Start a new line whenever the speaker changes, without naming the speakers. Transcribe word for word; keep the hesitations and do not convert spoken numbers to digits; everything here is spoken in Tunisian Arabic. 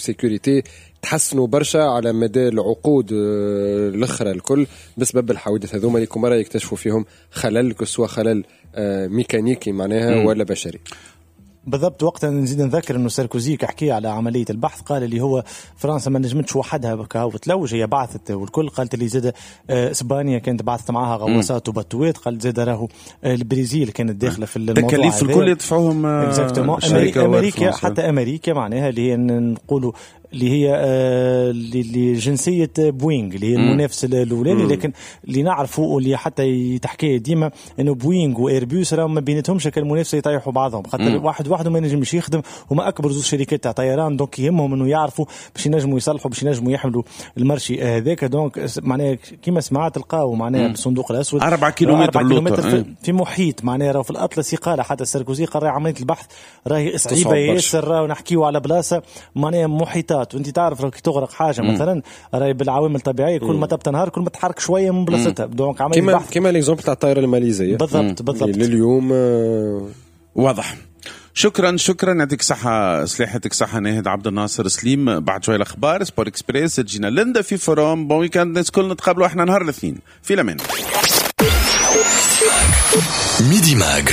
sécurité تحسنوا برشا على مدى العقود آه، الاخرى الكل بسبب الحوادث هذوما اللي كل مرة يكتشفوا فيهم خلل، que ce soit خلل آه، ميكانيكي معناها ولا بشري.
بالضبط. وقتها نزيد نذكر انه ساركوزي حكي على عملية البحث، قال اللي هو فرنسا ما نجمتش وحدها كهو تلوج، هي بعثت والكل، قالت اللي زاد آه، اسبانيا كانت بعثت معاها غواصات وباتوات، قالت زاد راهو آه، البرازيل كانت داخله في الموضوع.
التكاليف الكل يدفعوهم.
exactement، امريكا، حتى امريكا معناها اللي هي نقولوا اللي هي آه، اللي جنسية بوينغ اللي هي المنافس الاولاني، لكن اللي نعرفوا واللي حتى يتحكي ديما انه بوينغ وايربوس راهم ما بيناتهمش المنافسه، يطيحوا بعضهم، خاطر واحد وحده ما ينجمش يخدم. هما اكبر زوج شركات تاع طيران، donc يهمهم انه يعرفوا باش ينجموا يصلحوا، باش ينجموا يحملوا ال marché هذاك. donc معناها كيما سمعت تلقاو معناها بالصندوق الاسود.
أربعة كيلومتر.
أربعة كيلومتر في, في محيط معناها راهو في الاطلسي. قال حتى ساركوزي، قال عملية البحث راهي صعيبة ياسر، راهو نحكيو على بلاصة معناها محيطات، وانت تعرف كي تغرق حاجة مم. مثلا راهي بالعوامل الطبيعيه، كل ما تبدا نهار كل ما تحرك شوية من بلاصتها.
donc عملية كيما كيما l'exemple تاع الطائرة الماليزيه.
بالضبط بالضبط.
لليوم. آه،
واضح. شكرا شكرا، يعطيك صحة سلاح، يعطيك صحة ناهد عبد الناصر سليم. بعد شوية الأخبار Sport Express، تجينا لندا في forum. bon week-end الناس الكل، نتقابلوا احنا نهار الاثنين، في الامان.
Midi Mag.